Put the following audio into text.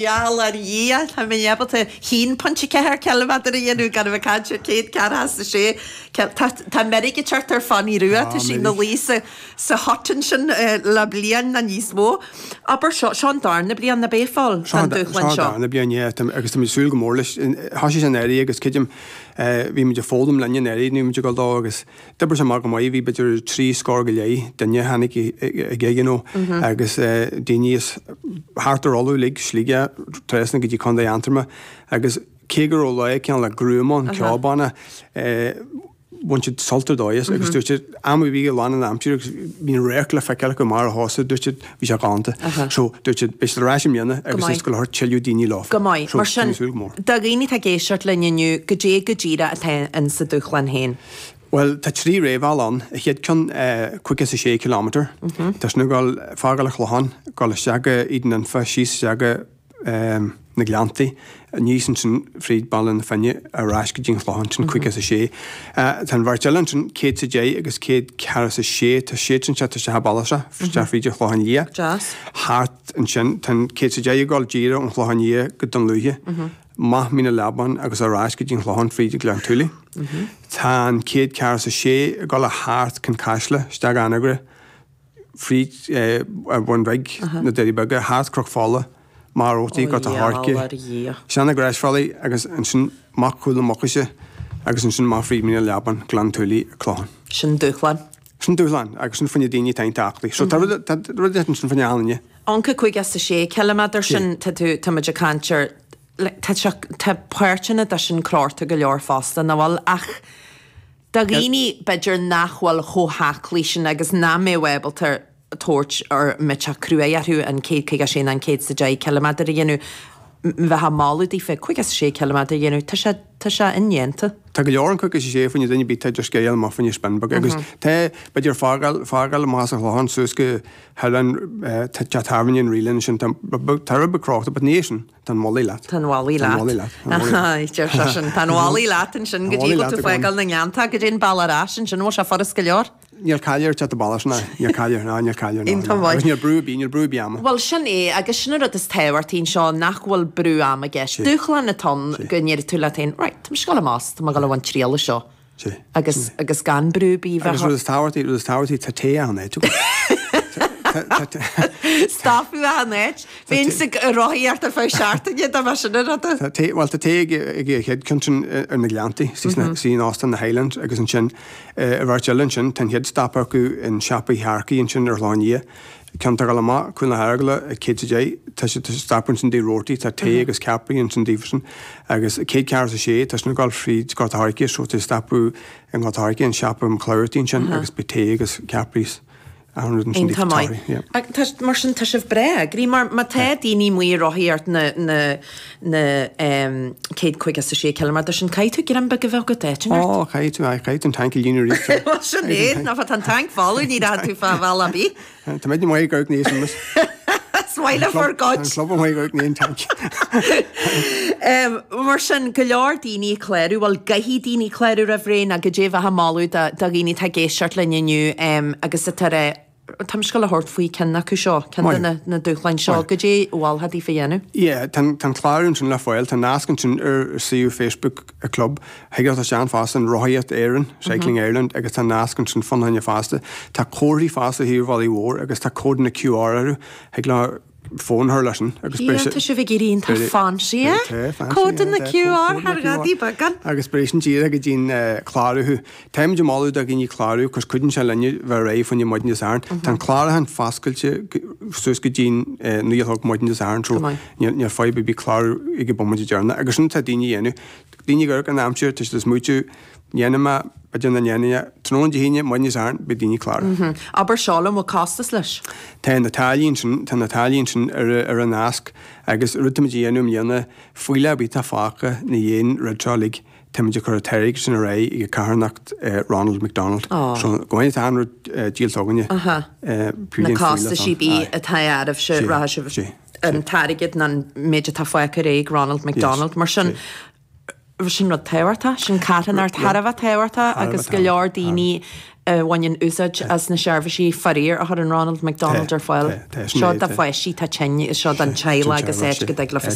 Gheall ar Dhia, tá mé ábalta 1.4 ciliméadar a dhéanamh gan a bheith ag caint ar 146 cil. Tá tá meirg ag teacht ar Fanny Rua, tá sí ina luí sa sa hut ansin le bliain nó níos mó. Abair seo, seo an darna bliain, ab é, a Phóil, Seo don dúshlán seo an seo? darna bliain, yeah, tá agus tá mé ag súil go mór leis. Thosaigh sé anuraidh agus creidim bhí muid ag foghlaim linn anuraidh nuair a bhí muid ag dul dó agus D'oibrigh sé amach go maith, bhí b'fhéidir 30 scór duine a tháinig aige you know agus daoine as thart ar Uladh uilig, Sligeach, trasna go dtí Contae Aontroma agus cé go raibh lá cineál le gruama ann, ceo bana, bhain siad sult ar dóigh as agus dúirt siad am a bhí i lán an aimsir agus bhí an radharc le feiceáil acu amach ar an chósta, dúirt siad bhí sé galánta. So dúirt siad beidh siad ar ais i mbliana agus is go leor tuilleadh daoine leo. Go maith. So Mar sin, tá mé ag súil go mór. do dhaoine atá ag éisteacht linn inniu, goidé go díreach atá in sa dúshlán féin? Bhuel, tá 3 réamhbhealach ann. An chéad ceann, 56 kilometre. Tá sin ag dul, fágáil an Chlocháin, dul isteach go Éadan Anfa, síos isteach go na Gleanntaí, aníos ansin fríd Baile na Finne, ar ais go dtí an Chlochán, sin 56. Tá an bheirt eile ansin, 110 agus 146, tá siad sin teacht isteach i Bealach, isteach fríd an Chlochán Liath. Deas. Thart ansin, tá an 110 ag dul díreach ón Chlochán Liath go Dún Lúiche. Amach Mín an Leabáin agus ar ais go dtí an Chlochán fríd Gleann tSúilí. Tá an 146 ag dul thart Cionn Caisle, isteach Anagaire, fríd an Bhun Bhig, na Doirí Beaga, thart Cnoc Fola, Machaire Rabhartaigh, Gort a' Choirce, isteach na Gresbhealaí agus ansin amach Cúil na Mucaise agus ansin amach fríd Mín an Leabáin, Gleann tSúilí, Clochán. Sin dúshlán. Sin dúshlán agus sin fá choinne daoine atá iontach aclaí. So tá rud tá rud ansin fá choinne achan duine. An 56 ciliméadar sin, tá tú, tá muid ag caint ar, like, tá sé, tá páirteanna de sin crochta go leor fosta, nach bhfuil? Ach do dhaoine, b'fhéidir, nach bhfuil chomh haclaí sin agus nach mbeadh ábalta tabhairt ar, mbeadh sé cruaidh orthu an 156 nó an 110 ciliméadar a dhéanamh, bheifeá ag moladh daofa 56 ciliméadar a dhéanamh, tá sé, tá sé indéanta. Tá go leor an 56 fá choinne duine ar bith atá idir sceideal amach fá choinne spin beag agus tá, b'fhéidir, fágáil, fágáil amach as an Chlochán suas go hoileán teach tábhairne an Reelan ansin, tá tá rud beag crochta but ní é sin, tá an mhullaigh leat. Tá an mhullaigh leat. Tá an mhullaigh leat. Tá an mhullaigh leat. Deir seisean, tá an mhullaigh leat ansin go dtí go bhfuil tú fágáil na nGleannta go dtí an bealach ar ais ansin, bhfuil sé furast go leor? Níl caill ar teacht abhaile sin, níl caill air, ná níl caill air, ná. Iontach maith. Agus níl brú ar bith, níl brú ar bith ama. Bhuel, sin é, agus sin an rud is tábhachtaí anseo, nach bhfuil brú ama i gceist. Dúshlán atá ann go ndéarfaidh tú leat féin, right, tá mise ag dul amach, tá mé ag dul a bhaint triail as seo. Sea. Agus, agus gan brú ar bith bheith. Agus rud is tábhachtaí, rud is tábhachtaí, tá tae achan áit agat. Stopadh achan áit. Bheinn ag rothaíocht ar feadh seachtaine dá mbeadh sin an rud. Tá tae, bhuel tá tae ag an chéad ceann sin ar na Gleanntaí, istigh in Óstán na Highlands agus ansin i bheirt eile ansin, tá an chéad stop acu in Siopa Uí Shearcaigh ansin ar an Chlochán Liath. Ceann atá ag dul amach Cuan na hEaragala ag 110, tá siad ag stopadh ansin dTigh Roarty, tá tae agus ceapairí ansin daofasan. Agus 146, tá sin ag dul fríd Gort a' Choirce, so tá stopadh i nGort a' Choirce, in Siopa McClougherty ansin agus beidh tae agus ceapairí is achan rud ansin Iontach daofa maith. torthaí, yeah. Ach tá, mar sin, tá sibh breá eagraithe, mar má tá daoine amuigh ag rothaíocht na, na, na 156 ciliméadar sin, caithfidh tú greim beag a bheith agat áit inteacht. Ó, caithfidh tú, aye, caithfidh tú an tanc a líonadh arís. Bhuel, sin é, ná tá an tanc folamh, ní rachaidh tú fá bhealach ar bith. Tá muid amuigh ag amharc níos amuigh. Is maith le bhur gcuid. Tá an club amuigh ag amharc ní an tanc. Mar sin, go leor daoine ag clárú, bhuel, gcaithfidh daoine clárú roimh ré nó goidé a bheifeá ag moladh do dhaoine atá ag éisteacht linn inniu agus atá ag rá, tá mise ag dul a thabhairt faoi ceann acu seo, ceann de na na dúshláin seo, goidé a mholfá daofa a dhéanamh? Yeah, tá an clárú ansin le fáil, tá nasc ansin ar suíomh Facebook an club. Thig leat isteach fosta in Rothaíocht Éireann, Cycling Ireland, agus tá nasc ansin fán choinne fosta. Tá comharthaí fosta ar thaobh an bhealaigh mhóir agus tá códanna QR orthu. Thig leo fón a chur leis sin agus beidh sé. Tá sibh ag éirí iontach fancy, eh? Tá, fancy, Códanna QR thar ghadaí beagán. Agus beidh sin díreach go dtí'n clárú thú. Táimid ag moladh do dhaoine clárú cos cuidíonn sé linne bheith réidh fá choinne maidin Dé Sathairn. Tá an clárúchán foscailte suas go dtí'n 9 a chlog maidin Dé Sathairn so níl fadhb ar bith clárú ag an bomaite deireanach. Agus sin atá daoine a dhéanamh. Daoine ag amharc ar an aimsir, tá siad ag smaoitiú, ndéanfaidh mé, b'fhéidir nach ndéanfaidh mé, tráthnóna Dé hAoine, maidin Dé Sathairn, beidh daoine ag clárú. Abair seo liom, bhfuil costas leis? Tá na táillí ansin, tá na táillí ansin ar ar an nasc agus rud táimid a dhéanamh i mbliana, fuílleach ar bith atá fágtha ina dhiaidh an rud seo uilig, táimid ag cur an t-airgead sin ar aghaidh ag carthanacht Ronald McDonald. So go mbeidh an rud díolta againne. Na costaisí bídh atá agaibhse, rachaidh sibh. an t-airgead nó an méid atá fágtha ar aghaidh ag Ronald McDonald. Mar sin, sin rud tábhachtach, sin carthanacht thar a bheith tábhachtach agus go leor daoine a bhaineann úsáid as na seirbhísí faraor a chuireann Ronald McDonald ar fáil. Seo do pháistí atá tinn, seo don teaghlach agus áit go dtig leofa.